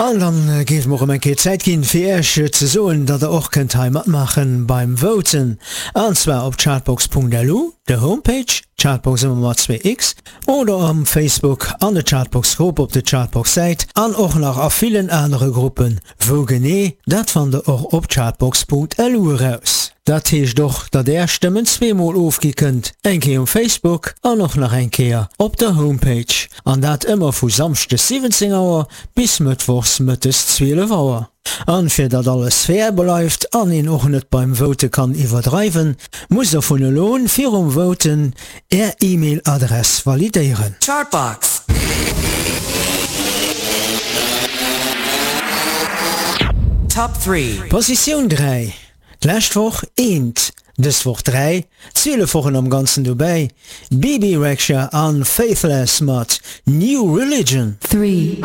An dann géif mer och erëm eng Kéier Zäit ginn, fir Iech ze soen, datt Der och kënnt hei matmaachen beim Voten, an zwar op chartbox.lu, der Homepage, Chartbox ëmmer mat 2 x, oder am Facebook an de Chartbox Grupp op de Chartbox Säit an och nach a villen anere Gruppen. Wou genee, dat fannt der och op chartbox.lu eraus. Dat heescht och, datt är Stëmmen zweemol ofgi kënnt, eng Kéier um Facebook an och nach eng Kéier op der Homepage. An dat ëmmer vu Samschdes 17 Auer bis Mëttwochs mëttes 12 Auer. An fir datt alles fair bleift an een och net beim Vote kann iwwerdreiwen, musst der vun elo un virum Voten Är E-Mail Adress validéieren. Chartbox. Top 3. Positioun 3, d'lescht Woch eent, dës Woch 3, 12 Wochen am Ganzen dobäi, Bebe Rexha an Faithless mat New Religion. 3.